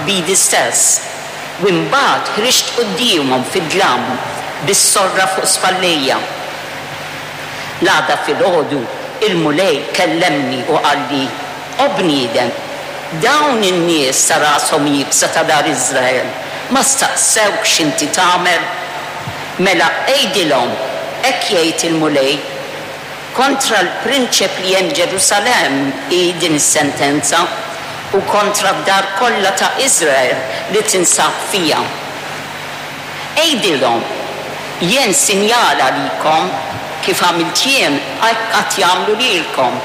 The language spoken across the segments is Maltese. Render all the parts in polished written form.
b'idi stess, u imbagħad ħriġt quddiemhom fid-dlam bis-sorra fuq spallejja. L-għada filgħodu il-Mulej kellemni u qalli, O bniedem, dawn in-nies ta' rashom iebsa ta' dar Iżrael ma staqsewkx x'inti tagħmel? Mela għidilhom, 'Hekk jgħid il-Mulej, Kontra l-prinċep li hemm Ġerusalemm hi din is-sentenza, u kontra d-dar kollha ta' Iżrael li tinsab fiha. Għidilhom, 'Jien sinjal għalikom, kif għamilt jien, hekk għad jagħmlu lilkom.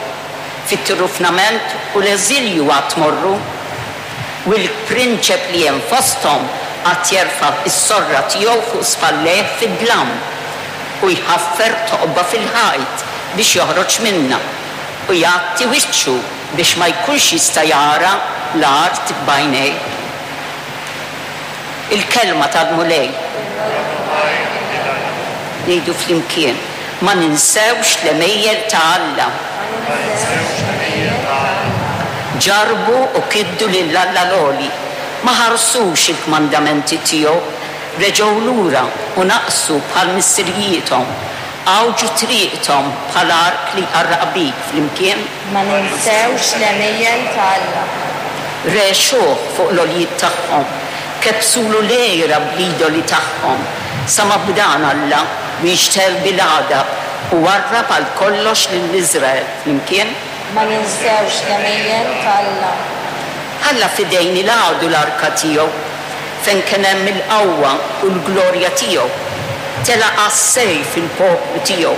Fit-tirrufnament u l-eżilju għad tmorru, u l-prinċep li hemm fosthom għad jerfa' s-sorra tiegħu fuq spallejh fid-dlam, u jħaffer toqba fil-ħajt biex joħroġ minnha, u jgħatti wiċċu biex ma jkunx jista' jara l-art b'għajnejh. Il-Kelma tal-Mulej. Ngħidu flimkien, Ma ninsewx l-għemejjel ta' Alla. Ġarrbu u kiddu lil Alla l-Għoli, ma ħarsux il-kmandamenti tiegħu, reġgħu lura u naqsu bħal missirijiethom, għawġu triqthom bħal ark li jqarraq bik flimkien. Ma ninsewx l-għemejjel ta' Alla. Regħxuh fuq l-għoljiet tagħhom, kebbsulu l-għira bl-idoli tagħhom, sa ma b'dan Alla wieġtel bil-għadab u warrab għal kollox lil Iżrael flimkien. Ma ninsewx l-għemejjel ta' Alla. Ħalla f'idejn il-għadu l-arka tiegħu, fejn kien hemm il-qawwa u l-glorja tiegħu. Telaq għas-sejf il-poplu tiegħu,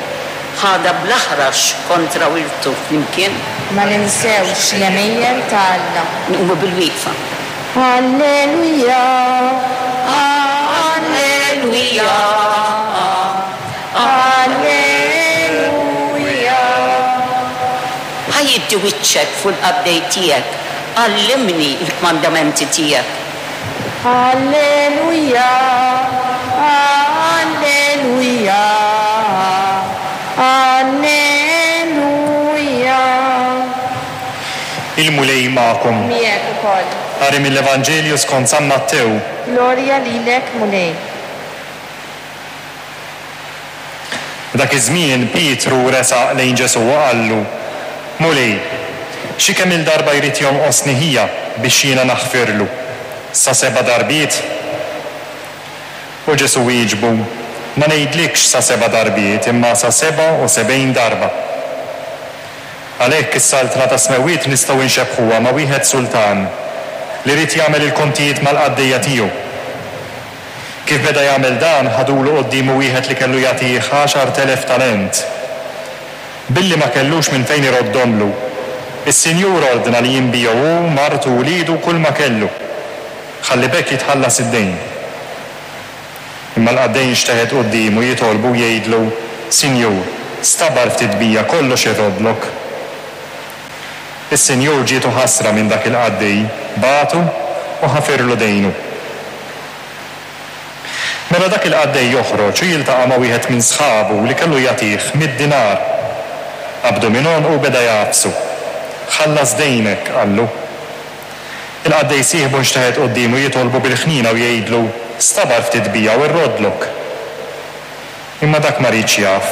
ħadha bl-aħrax kontra wirtu flimkien. Ma ninsewx l-għemejjel ta' Alla. Nqumu bil-wieqfa. Alleluja, Alleluja, Alleluja. Ħa jiddi wiċċek fuq il-qaddej tiegħek, għallimni l-kmandamenti tiegħek. Alleluja, Alleluja, Alleluja. Il-Mulej magħkom. Miegħek ukoll. Qari mill-Evanġelju skont San Mattew. Glorja lilek, Mulej. F'dak iż-żmien Pietru resaq lejn Ġesù u qallu, Mulej, xi kemm-il darba jrid jonqosni ħija biex jiena naħfirlu? Sa seba' darbiet? U Ġesù wieġbu, Ma ngħidlikx sa seba' darbiet, imma sa 77 darba. Għalhekk is-Saltna tas-Smewwiet nistgħu nxebbħuha ma' wieħed sultan li ried jagħmel il kontijiet mal-qaddejja tiegħu. Kif beda jagħmel dan, ħadulu quddiemu wieħed li kellu jagħtih 10,000 talent. Billi ma kellux minn fejn iroddhomlu, is-sinjur ordna li jinbiegħu hu, martu, uliedu u kulma kellu, ħalli b'hekk jitħallas id-dejn. Imma l-qaddej inxteħet quddiemu jitolbu u jgħidlu, 'Sinjur, stabar ftit bija, kollox irroddlok. Is-sinjur ġietu ħasra minn dak il-qaddej, bagħtu u ħafirlu dejnu. Mela dak il-qaddej joħroġ u jiltaqa' ma' wieħed minn sħabu li kellu jagħtih mitt dinar. Qabdu minn għonqu u beda jagħfsu. Ħallas dejnek, qallu. Il-qaddej sieħbu nxteħet quddiemu jitolbu bil-ħniena u jgħidlu, 'Stabar ftit bija u rroddlok. Imma dak ma riedx jaf,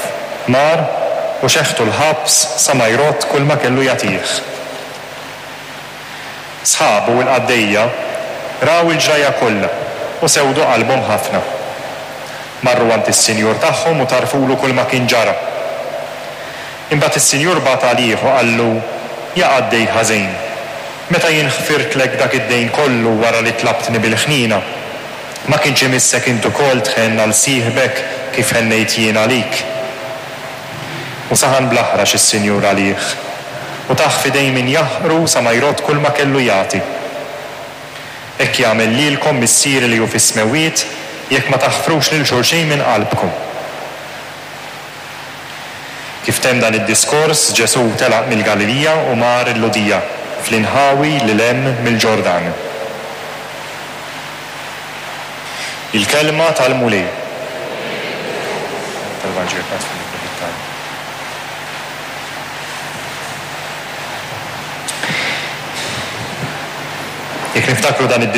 mar u xeħtu l-ħabs sa ma jrodd kulma kellu jagħtih. Sħabu, il-qaddejja, raw il-ġrajja kollha u sewdu qalbhom ħafna. Marru għand is-sinjur tagħhom u tgħarrfulu kulma kien ġara. Imbagħad is-sinjur bagħat għalih u qallu, 'Ja qaddej ħażin, meta jien ħfirtlek dak id-dejn kollu wara li tlabtni bil-ħniena, ma kienx imissek int ukoll tħenn għal sieħbek kif ħennejt jien għalik? U saħan bl-aħrax is-sinjur għalih, u tah f'idejn min jaħqru sa ma jrodd kulma kellu jagħti. Hekk jagħmel lilkom Missieri li hu fis-smewwiet jekk ma taħfrux lil xulxin minn qalbkom. Kif temm dan id-diskors, Ġesù telaq mill-Galilija u mar il-Lhudija, fl-inħawi lil hemm mill-Ġordan. Il-Kelma tal-Mulej. Jekk niftakru dan id.